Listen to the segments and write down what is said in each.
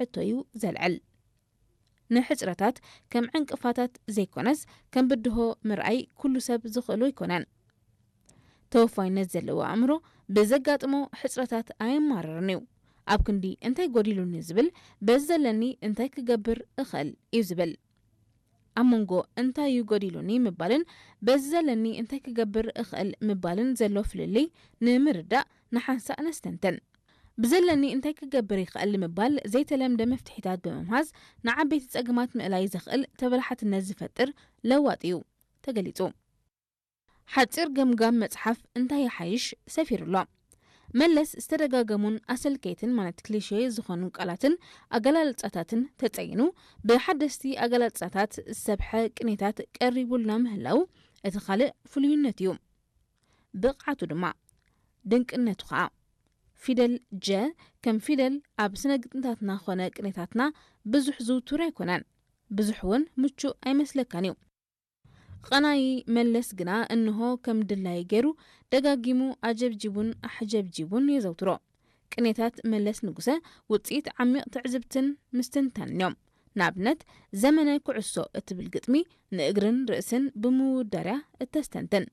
ሕቶ እዩ ዘልዕል። ንሕጽረታት ከም ዕንቅፋታት ዘይኮነስ ከም ብድሆ ምርኣይ ኩሉ ሰብ ዝኽእሎ ኣይኮነን። ተወፋይነት ዘለዎ ኣእምሮ ብዘጋጥሞ ሕጽረታት ኣየማርርን እዩ። ኣብ ክንዲ እንታይ ጎዲሉኒ ዝብል በዚ ዘለኒ እንታይ ክገብር እኽእል እዩ ዝብል። ኣብ መንጎ እንታይ እዩ ጎዲሉኒ ምባልን በዚ ዘለኒ እንታይ ክገብር እኽእል ምባልን ዘሎ ፍልልይ ንምርዳእ ንሓንሳእ ነስተንትን። ብዘለኒ እንታይ ክገብር ይኽእል ንምባል ዘይተለምደ መፍትሒታት ብምምሃዝ ንዓበይቲ ጸገማት ምእላይ ዘኽእል ተበላሓትነት ዝፈጥር ለዋጢ እዩ ተገሊጹ። ሓጺር ገምጋም መጽሓፍ እንታይ ይሓይሽ ሰፊሩ ኣሎ። መለስ ዝተደጋገሙን ኣሰልከይትን ማለት ክሊሼ ዝኾኑ ቃላትን ኣገላልጻታትን ተጸይኑ ብሓደስቲ ኣገላልጻታት ዝሰብሐ ቅኔታት ቀሪቡልና ምህላው እቲ ካልእ ፍሉይነት እዩ። ብቕዓቱ ድማ ድንቅነቱ ኸኣ ፊደል ጀ ከም ፊደል ኣብ ስነ ግጥምታትና ኾነ ቅኔታትና ብዙሕ ዝውቱር ኣይኮነን። ብዙሕ እውን ምቹእ ኣይመስለካን እዩ። ቐናዪ መለስ ግና እንሆ ከም ድላዩ ገይሩ ደጋጊሙ ኣጀብጂቡን ኣሕጀብጂቡን የዘውትሮ። ቅኔታት መለስ ንጉሰ ውጽኢት ዓሚቕ ትዕዝብትን ምስትንታንን እዮም። ንኣብነት ዘመነ ኩዕሶ እትብል ግጥሚ ንእግርን ርእስን ብምውዳርያ እተስተንትን።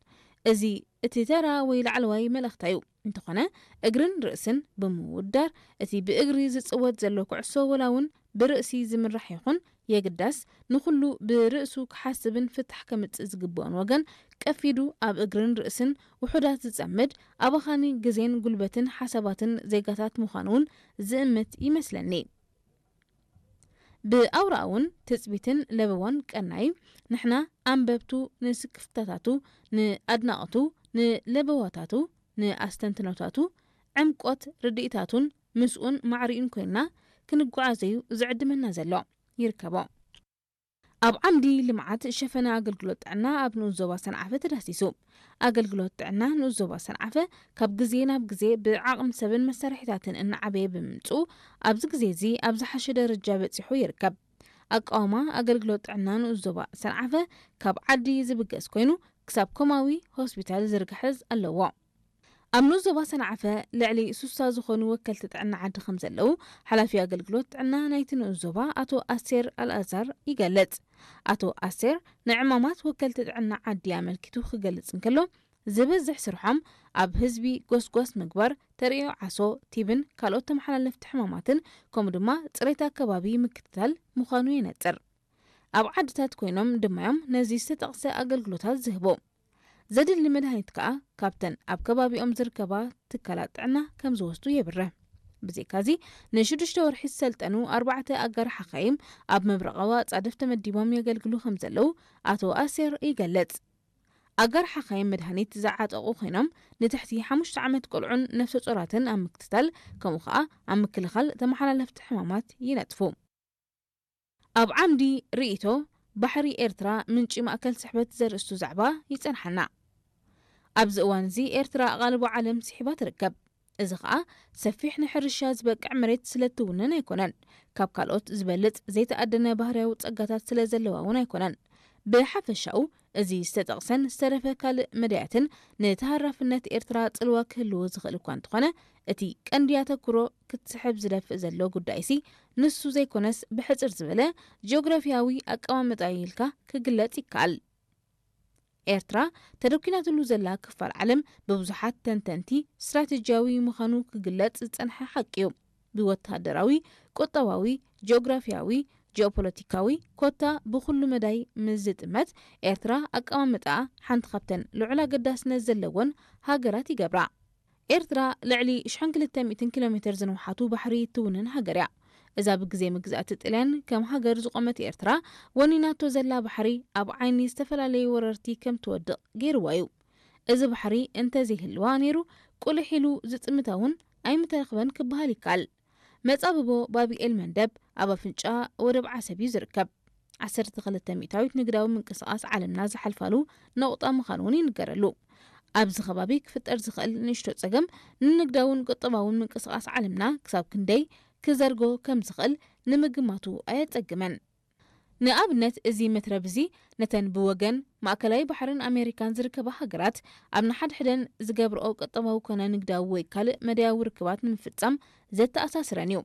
እዚ እቲ ተራ ወይ ላዕለዋይ መልእኽታ እዩ። እንተኾነ እግርን ርእስን ብምውዳር እቲ ብእግሪ ዝጽወት ዘሎ ኩዕሶ ወላ እውን ብርእሲ ዝምራሕ ይኹን የግዳስ ንኹሉ ብርእሱ ክሓስብን ፍታሕ ከምጽእ ዝግብኦን ወገን ቀፊዱ ኣብ እግርን ርእስን ውሑዳት ዝጸምድ ኣባኻኒ ግዜን ጉልበትን ሓሳባትን ዜጋታት ምዃኑ እውን ዝእምት ይመስለኒ። ብኣውራኡን ትጽቢትን ለበዋን ቀናዩ ንሕና ኣንበብቱ ንስክፍታታቱ ንኣድናቕቱ ንለበዋታቱ ንኣስተንትኖታቱ ዕምቆት ርድኢታቱን ምስኡን ማዕሪኡን ኮይንና ክንጓዓዘዩ ዝዕድመና ዘሎ ይርከቦ። ኣብ ዓምዲ ልምዓት ሸፈነ ኣገልግሎት ጥዕና ኣብ ንኡስ ዞባ ሰንዓፈ ተዳሲሱ። ኣገልግሎት ጥዕና ንኡስ ዞባ ሰንዓፈ ካብ ግዜ ናብ ግዜ ብዓቕሚ ሰብን መሳርሒታትን እናዓበየ ብምምፅኡ ኣብዚ ግዜ እዚ ኣብ ዝሓሸ ደረጃ በፂሑ ይርከብ። ኣቃውማ ኣገልግሎት ጥዕና ንኡስ ዞባ ሰንዓፈ ካብ ዓዲ ዝብገስ ኮይኑ ክሳብ ኮማዊ ሆስፒታል ዝርግሐዝ ኣለዎ። ኣብ ንኡስ ዞባ ሰንዓፈ ልዕሊ ሱሳ ዝኾኑ ወከልቲ ጥዕና ዓዲ ከም ዘለዉ ሓላፊ ኣገልግሎት ጥዕና ናይቲ ንኡስ ዞባ ኣቶ ኣሴር ኣልኣዛር ይገልጽ። ኣቶ ኣሴር ንዕማማት ወከልቲ ጥዕና ዓዲ ኣመልኪቱ ክገልጽ እንከሎ ዝበዝሕ ስርሖም ኣብ ህዝቢ ጎስጓስ ምግባር፣ ተርእዮ ዓሶ፣ ቲብን ካልኦት ተመሓላለፍቲ ሕማማትን ከምኡ ድማ ፅሬት ኣከባቢ ምክትታል ምዃኑ የነፅር። ኣብ ዓድታት ኮይኖም ድማዮም ነዚ ዝተጠቕሰ ኣገልግሎታት ዝህቡ። ዘድሊ መድሃኒት ከኣ ካብተን ኣብ ከባቢኦም ዝርከባ ትካላት ጥዕና ከም ዝወስዱ የብርህ። ብዘይካዚ ንሽዱሽተ ወርሒ ዝሰልጠኑ ኣርባዕተ ኣጋር ሓኻይም ኣብ ምብራቓዊ ኣጻድፍ ተመዲቦም የገልግሉ ከም ዘለዉ ኣቶ ኣሴር ይገልጽ። ኣጋር ሓኻይም መድሃኒት ዝዓጠቑ ኮይኖም ንትሕቲ ሓሙሽተ ዓመት ቆልዑን ነፍሰ ጾራትን ኣብ ምክትታል ከምኡ ከኣ ኣብ ምክልኻል ተመሓላለፍቲ ሕማማት ይነጥፉ። ኣብ ዓምዲ ርእይቶ ባሕሪ ኤርትራ ምንጪ ማእከል ስሕበት ዘርእስቱ ዛዕባ ይጸንሓና። ኣብዚ እዋን እዚ ኤርትራ ኣቓልቦ ዓለም ስሒባ ትርከብ። እዚ ኸኣ ሰፊሕ ንሕርሻ ዝበቅዕ መሬት ስለ እትውንን ኣይኮነን። ካብ ካልኦት ዝበልጽ ዘይተኣደነ ባህርያዊ ጸጋታት ስለ ዘለዋ እውን ኣይኮነን። ብሓፈሻኡ እዚ ዝተጠቕሰን ዝተረፈ ካልእ መዳያትን ንተሃራፍነት ኤርትራ ጽልዋ ክህልዎ ዝኽእል እኳ እንተኾነ እቲ ቀንዲ ኣተኩሮ ክትስሕብ ዝደፍእ ዘሎ ጉዳይሲ ንሱ ዘይኮነስ ብሕጽር ዝበለ ጂኦግራፊያዊ ኣቀማምጣ ኢልካ ክግለጽ ይከኣል። ኤርትራ ተደኲናትሉ ዘላ ክፋል ዓለም ብብዙሓት ተንተንቲ ስትራቴጂያዊ ምዃኑ ክግለጽ ዝጸንሐ ሓቂ እዩ። ብወተሃደራዊ፣ ቁጠባዊ፣ ጂኦግራፊያዊ፣ ጂኦፖለቲካዊ ኮታ ብኹሉ መዳይ ምስ ዝጥመት ኤርትራ ኣቀማምጣኣ ሓንቲ ካብተን ልዑል ኣገዳስነት ዘለወን ሃገራት ይገብራ። ኤርትራ ልዕሊ ሽሕን ክልተ ሚእትን ኪሎ ሜትር ዝንውሓቱ ባሕሪ እትውንን ሃገር እያ። እዛ ብግዜ መግዛእቲ ጥልያን ከም ሃገር ዝቖመት ኤርትራ ወኒናቶ ዘላ ባሕሪ ኣብ ዓይኒ ዝተፈላለዩ ወረርቲ ከም ትወድቕ ገይርዋ እዩ። እዚ ባሕሪ እንተዘይህልዋ ነይሩ ቁልሕ ኢሉ ዝጥምታ እውን ኣይምተረኽበን ክበሃል ይከኣል። መጻብቦ ባብኤል መንደብ ኣብ ኣፍንጫ ወደብ ዓሰብ እዩ ዝርከብ። ዓሰርተ ክልተ ሚእታዊት ንግዳዊ ምንቅስቓስ ዓለምና ዝሓልፋሉ ነቑጣ ምዃኑ እውን ይንገረሉ። ኣብዚ ከባቢ ክፍጠር ዝኽእል ንእሽቶ ጸገም ንንግዳውን ቁጠባውን ምንቅስቓስ ዓለምና ክሳብ ክንደይ ክዘርጎ ከም ዝኽእል ንምግማቱ ኣየጸግምን። ንኣብነት እዚ መትረብ እዚ ነተን ብወገን ማእከላይ ባሕርን ኣሜሪካን ዝርከባ ሃገራት ኣብ ንሓድሕደን ዝገብርኦ ቁጠባዊ ኮነ ንግዳዊ ወይ ካልእ መዳያዊ ርክባት ንምፍጻም ዘተኣሳስረን እዩ።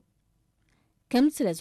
ከምዚ ስለ